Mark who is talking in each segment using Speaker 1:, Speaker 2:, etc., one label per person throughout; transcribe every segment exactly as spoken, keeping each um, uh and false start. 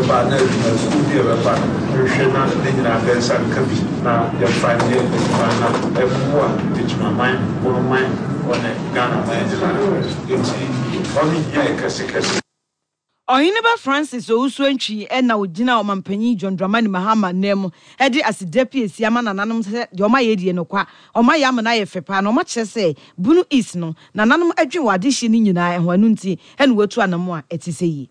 Speaker 1: Ɛbɛba na adwumakuo bi a ɛbɛba no, nhwehwɛ na ne nyinaa bɛnsa nka bi na yɛmfa nyɛ adwuma na ɛboa adwumaman, Bonoman, ɔne Ghana man nyinaa. Nti ɔno hia yɛ kɛsekɛse.
Speaker 2: Ɔheneba Francis Owusu Antwi na ogyina Ɔmampanyin John Dramani Mahama nan mu de aseda piesie ama nananom sɛ deɛ ɔma yɛ die no kwa, ɔma yɛ ama no ayɛ fɛ paa, na ɔma kyerɛ sɛ Bono East no nananom adwen wɔ adehyeɛ no nyinaa ho, ɛno nti ɛna watu anamo a ɛte sɛ yi.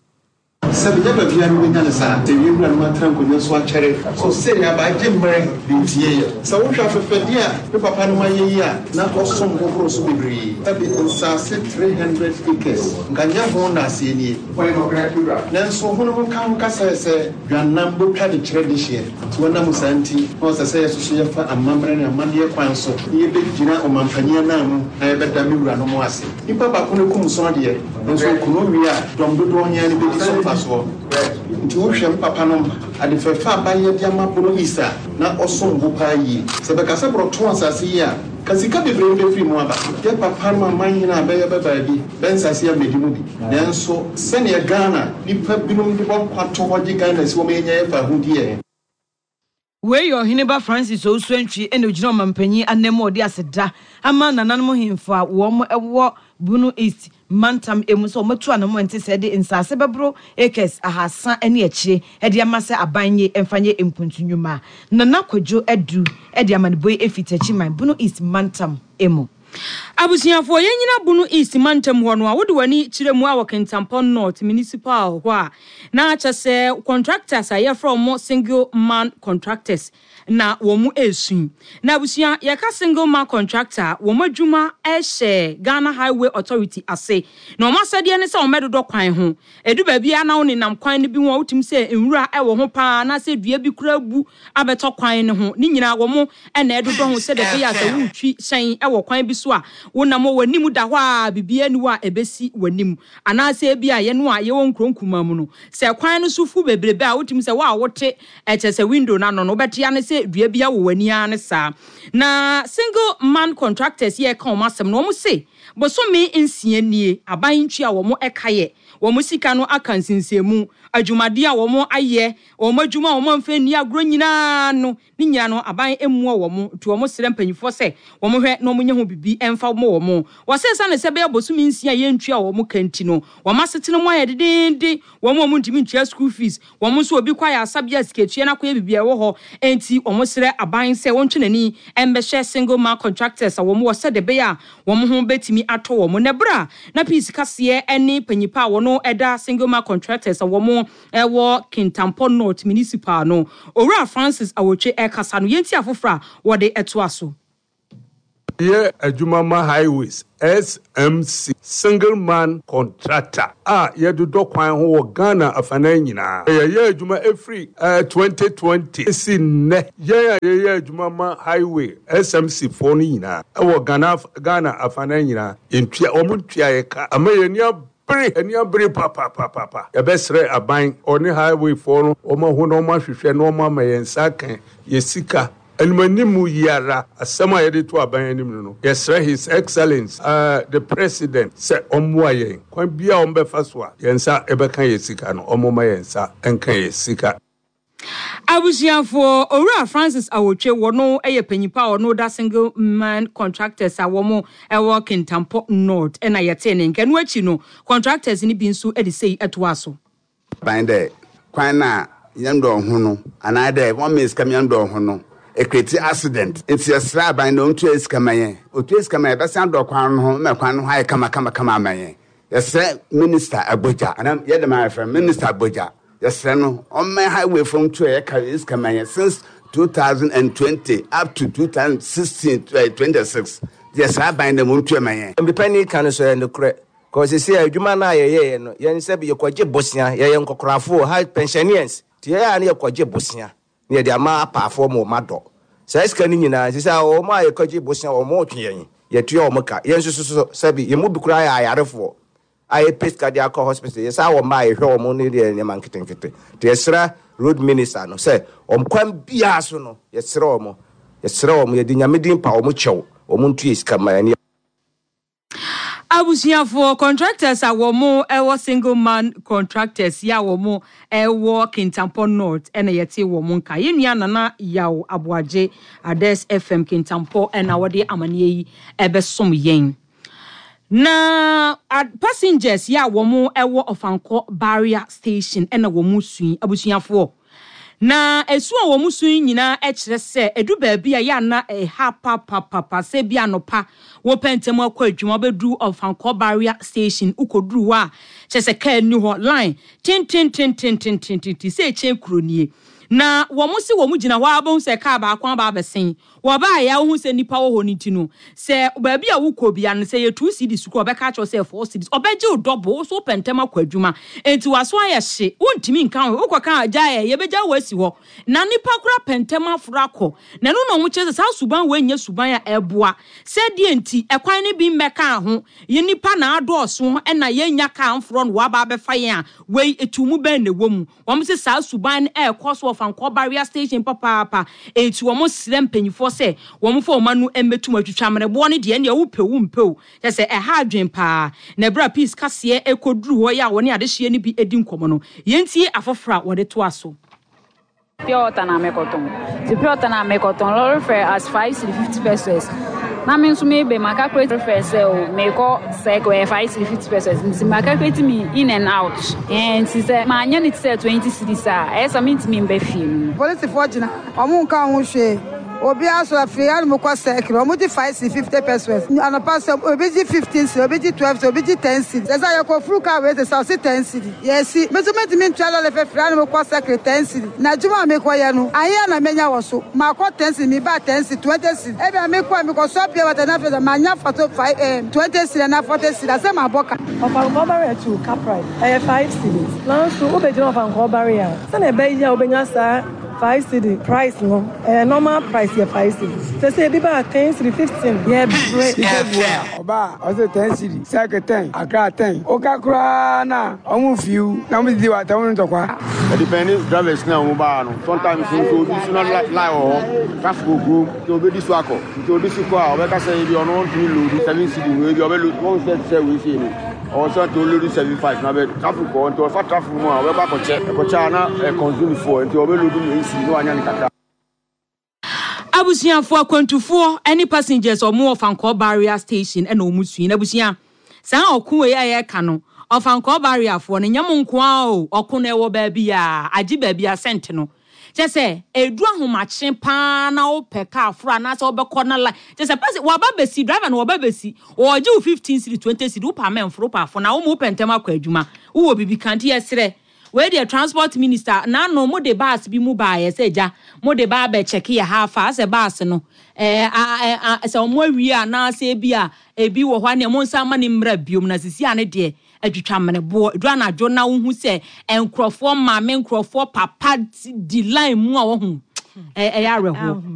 Speaker 3: Sɛ menya baabi a no wobɛnya no saa, sɛ wie wura no atena nkonnwa so akyɛre so sɛnea abaagye mmerɛ de ntie yɛ. Sɛ wohwɛ afɛfɛdeɛ a me papa no ma yɛ yi a, na ɔsom hohoro so bebree. Sɛbi nsase three hundred acres nka nyɛ ho na aseɛ nie, nanso ho no ho ka ho kasa sɛ dwanam botwa de kyerɛ de hyeɛ. Nti wɔnam saa nti na ɔsɛ sɛ yɛsoso yɛfa amammerɛ ne amanneɛ kwan so na yɛbɛgyina ɔmampanyin anan mu na yɛbɛda me wura no mo ase. Nipa baako no kum so deɛ, nso okunu wie a, dɔm dodoɔ nyɛ no bɛdi so mfasoɔ. Nti wohwɛ me papa nom ade fɛfɛ a bayɛ de ama Bono East a, na ɔsom bo paa yie. Sɛ bɛka sɛ borɔto asase yi a, ka sika bebree no bɛfiri mu aba. Yɛ papa no aman nyina a bɛyɛ bɛ baabi bɛnsase a mmɛdi mu bi, nanso sɛnea Ghana nipa binom de bɔ nkwa to hɔ gye Ghana si wɔn yɛnya yɛfa ahodie.
Speaker 2: Wei yɛ Ɔheneba Francis Owusu Antwi ɛna ogyina ɔmampanyin anan mu a ɔde aseda ama nananom hemfo a wɔn wɔ Bono East mantam emu sɛ wɔatu anamo nte sɛ de nsase bɛboro acres ahasa ne akyire de ama sɛ aban nye mfa nyɛ mpuntu nnwuma. Nana Kwadwo Adu de amanebɔ yi efi Takyiman, Bono East mantam emu.
Speaker 4: Abusuafoɔ, yɛn nyina Bono East mantam hɔ no a, wode w'ani kyerɛ mu a, wɔ Kintampo North Municipal hɔ a, na kyɛ sɛ contractors a yɛfrɛ wɔn single man contractors na wɔn mu esu. Na abusua, yɛka single man contractor, wɔn adwuma ɛhyɛ Ghana Highway Authority ase, na wɔn asɛdeɛ ne sɛ wɔn bɛdodɔ kwan ho. Edu baabi a na wɔn nenam kwan no bi ho a, wotumi sɛ nwura ɛwɔ ho paa anaasɛ dua bi kura bu abɛtɔ kwan no ho. Ne nyinaa wɔn ɛna ɛdodɔ ho sɛ dɛbɛ yɛ a sɛ wotwi hyɛn ɛwɔ kwan bi so a, wonam wɔ w'anim da hɔ a, biribiara ni hɔ a ɛbɛsi w'anim. Anaasɛ ebi a yɛn a yɛwɔ nkuro nkumaa mu no, sɛ kwan no so fu bebrebe a, wotumi sɛ wo a wote ɛkyɛ sɛ window n'ano no, wobɛte ano sɛ dua bi awɔ w'ani ara ne saa. Na single man contractors yɛ ka wɔn asɛm no, wɔn se bosome nsia nie, aban ntua wɔn ɛka yɛ wɔn sika no aka nsinsɛnmu. Adwumadeɛ a wɔn ayɛ, wɔn adwuma a wɔn amfa nni agorɔ nyinaa no, ne nyinaa no aban emua wɔn. Nti wɔn srɛ mpanyinfoɔ sɛ wɔn hwɛ na wɔn nyɛ ho bibi ɛmfa wɔn wɔn Wɔsɛ sane sɛ bɛyɛ bosome nsia yɛntua wɔn ka nti no, wɔn asetena mu ayɛ dedenden. Wɔn a wɔn ntumi ntua school fees, wɔn nso obi kɔ ayɛ asabea, sikatua no akɔyɛ biribi a ɛwɔ hɔ. Nti wɔn srɛ aban sɛ wɔntwe n'ani ɛmbɛhyɛ single man contractors a wɔn wɔ sɛ de bɛyɛ a wɔn ho bɛtumi atɔ wɔn. Na ɛberɛ a na Peace kaseɛ ne panyipa a wɔn ɛda single man contractors a wɔn ɛwɔ Kintampo North Municipal no, Owura Francis Awotwe, ɛkasa no, yɛnti afoforɔ a wɔde ɛtoa so.
Speaker 5: Yɛ adwuma ma Highways S M C, single man contractor a yɛdodɔ kwan ho wɔ Ghana afanan nyinaa. Yɛyɛ adwuma ɛfiri uh, twenty twenty si nnɛ. Yɛn a yɛyɛ adwuma ma Highway S M C foɔ no nyinaa ɛwɔ Ghana, Ghana afanan nyinaa, yɛntua wɔn ntua yɛ ka ama yɛn ani abere, ani abere papapapapa. Yɛbɛsrɛ aban, ɔne highway foɔ no, wɔn aho na wɔn ahwehwɛ na wɔn ama yɛn nsa kan yɛ sika animanim yi ara. Asɛm a yɛde to aban anim no no yɛsrɛ His Excellence uh, the President sɛ ɔmmoa yɛn kwan bia a ɔmbɛfa so a yɛn nsa ɛbɛka yɛ sika no, ɔmmoma yɛn nsa ɛnka yɛ sika.
Speaker 4: Abusuafoɔ, Owura Francis Awotwe, wɔno yɛ panyipa a ɔno da single man contractors a wɔn wɔ Kintampo North, ɛna yɛtee ne nka no. Akyi no, contractors no bi nso de sei ɛtoa so.
Speaker 6: Ban dɛ kwan na yɛn dɔ ho no anaa dɛ wɔn mɛ sika yɛn dɔ ho no ecreate accident, nti yɛsrɛ aban dɛ ɔntua sika ma yɛn. Otua sika ma yɛn, bɛsan dɔ kwan no ho ma kwan no ho ayɛ kama kama kama ama yɛn. Yɛsrɛ Minister Agbogya, anaa yɛde ma yɛfrɛ Minister Agbogya, yɛsrɛ no ɔmmɛn highway fam tua yɛka sika ma yɛn since twenty twenty up to twenty sixteen twenty-six. Yɛsrɛ aban dɛ mo ntua ma yɛn.
Speaker 7: Mbipani ka no so yɛ nokorɛ kɔsi sɛ adwuma no a yɛyɛɛ no, yɛn sɛ yɛkɔgye bosea. Yɛyɛ nkɔkorafoɔ ha, pensioners, nti yɛyɛ a ne yɛkɔgye bosea ne yɛde ama apaafoɔ ma ɔma dɔ saa sika no nyinaa. Nti sɛ wɔn a yɛkɔgye bosea, wɔn ɔtwe yɛn, yɛtua wɔn ka. Yɛn nso so, sɛbi, yɛn mu bi koraa yɛ ayarefoɔ a yɛpɛ sika de akɔ hospital. Yɛsa wɔ mma a yɛhwɛ wɔn ne deɛ nneɛma nketenkete. Nti yɛsrɛ road minister no sɛ wɔn kwan biara so no, yɛsrɛ wɔn, yɛsrɛ wɔn, yɛde Nyame din pa wɔn kyɛw, wɔn ntua sika ma yɛn.
Speaker 4: Abusuafoɔ, contractors a wɔn wɔ Single Man Contractors yi a wɔn wɔ Kintampo North na yɛte wɔn nka. Yɛn nua Nana Yaw Aboagye, Ades F M Kintampo, na wɔde amaneɛ yi ɛbɛsom yɛn. Na passengers yi a wɔn wɔ Ɔfankɔ Barrier Station na wɔn sui, abusuafoɔ. Na esu a wɔn su nyinaa kyerɛ sɛ edu baabi a yɛ ana ɛha papapapa sɛ bi anɔpa wɔpɛ ntɛm akɔ adwuma, wobɛduru Ɔfankɔ Barrier Station, wokɔduru hɔ a, kyerɛ sɛ kaa ni hɔ, line tententententententen sɛ ɛkyɛn kuro nie. Na wɔn si wɔn gyina hɔ a, abɛhu sɛ kaa baako aba abɛsen. Wɔbaayɛ a, wohu sɛ nipa wɔ hɔ no ti no, sɛ baabi a wokɔ bia no, sɛ yɛ two cedis kɔ, ɔbɛka kyerɛ sɛ four cedis, ɔbɛgye wo double. Wo so wopɛ ntɛm akɔ adwuma, enti waso ayɛ hye, wontumi nka ho. Wokɔ ka gya yɛ, yɛbɛgya wo asi hɔ na nipa kora pɛ ntɛm aforo akɔ. Na ɛno na ɔmo kyerɛ sɛ saa suban wɔ nyɛ suban a ɛboa. Sɛdeɛ nti ɛkwan no bi mmɛka ho, yɛ nipa na adɔɔso ɛna yɛnya kaa mforɔ no waba abɛfa yɛn a, wei etu mu bɛn na ɛwɔ mu? Wɔn sɛ saa suban no ɛɛkɔ so Ɔfankɔ Barrier Station papaapa, eti wɔn srɛ mpanyinfoɔ sɛ wɔn fɔ wɔn ano mmɛtum atwitwa mmerɛboɔ no deɛ, ɛnea wopɛ wo mpɛ o, kyɛ sɛ ɛha adwen paa. Na ɛberɛ a Peace kaseɛ ɛkɔduru hɔ yi a wɔne adehyeɛ no bi edi nkɔmɔ no, yɛntie afoforɔ a wɔde toa so.
Speaker 8: Pure water na mekɔtɔn, nti pure water na mekɔtɔn, lorry fare as five cedi fifty pesewas, na me nso mebe ma calculate fare sɛ o mekɔ Circle, ɛyɛ five cedi fifty pesewas, nti ma calculate me in and out ɛn nti sɛ maanyɛ ne te sɛ twenty cedis a, ɛyɛ sɛ mentumi mba fie no mu.
Speaker 9: Polisifoɔ gyina, ɔmo nka ho hwee. Obiara so afiri hanom kɔ Circle, ɔmo gye five cedi fifty pesewas. Anɔpa sɛ obi gye fifteen cedi, obi gye twelve cedi, obi gye ten cedi. Sɛ sɛ yɛkɔ furu kaa wei sɛ sɛ ɔsi ten cedi, yɛsi me nso mentumi ntua lorry fare firi hanom kɔ Circle ten cedi. Na adwuma a mekɔyɛ no ahia na menya wɔ so, makɔ ten cedi, meba ten cedi, twenty cedi. Ebi a mekɔ a mekɔ sɔ pure water na afei sɛ manya fato five ɛɛ twenty cedi na forty cedi asɛ mabɔ ka.
Speaker 10: Ɔfankɔ Barrier to Caprice ɛyɛ five cedis, nanso wobɛgyina Ɔfankɔ Barrier a, sɛnea ɛbɛyɛ a wobɛnya saa five cedi price no, ɛyɛ normal price yɛ five cedis, sɛ sɛ ebi ba ten cedi, fifteen, yɛ brɛ.
Speaker 11: Sika gu a ɔba a, ɔsɛ ten cedi, Circle ten, Accra ten. Woka koraa na ɔmo fiw na ɔmo didi wɔ atɛm no ntɔkwa.
Speaker 12: Ɛdepend drivers na ɔmo baa no. Sometimes nso obi so na line wɔ hɔ, traffic wɔ kurom, nti obedi so akɔ, nti odi so kɔ a, ɔbɛka sɛ ebi ɔno ɔntumi load seven cedi no, ebi ɔbɛ load wɔn sɛ sɛ wei sei no, ɔwɔ sɛ nti ɔload seven five na bɛ traffic wɔ, nti ɔfa traffic mu a, ɔbɛkɔ akɔkyɛ ɛkɔkyɛ a na ɛ consume fuel, nti ɔbɛ load no eight cedi na wanya ne kakra.
Speaker 4: Abusuafoɔ, akwantufoɔ ne passengers, ɔmo wɔ Ɔfankɔ Barrier Station ɛna ɔmo sui. Na abusua, saa ɔko wei a yɛreka no, Ɔfankɔ Barrierfoɔ no nyɛ mo nko ara o. Ɔko no ɛwɔ baabi a agye baabi a sɛnte no kyɛ sɛ edu ahomakye paa na wopɛ kaa foro anaasɛ wobɛkɔ na line kyɛ sɛ pɛsɛ waba bɛsi, driver no waba bɛsi, wɔgye wo fifteen cedi, twenty cedi, wopɛ amɛnforo, wopɛ afo na wɔn wopɛ ntɛm akɔ adwuma, wowɔ bibi kan ti. Yɛsrɛ wei deɛ, Transport Minister, n'ano mo de bus bi mu baayɛ sɛ gya mo de ba abɛkyɛke yɛ ha afa asɛ bus no ɛɛ a sɛ ɔmo awie anaasɛ ebi a ebi wɔ hɔ a, nea mo nsa ama ne mmra biom. Na sisi a ne deɛ atwitwa mmeneboɔ edu anadwo na wohu sɛ nkurɔfoɔ maame, nkurɔfoɔ papa di line mu a wɔho ɛyɛ awerɛhoɔ.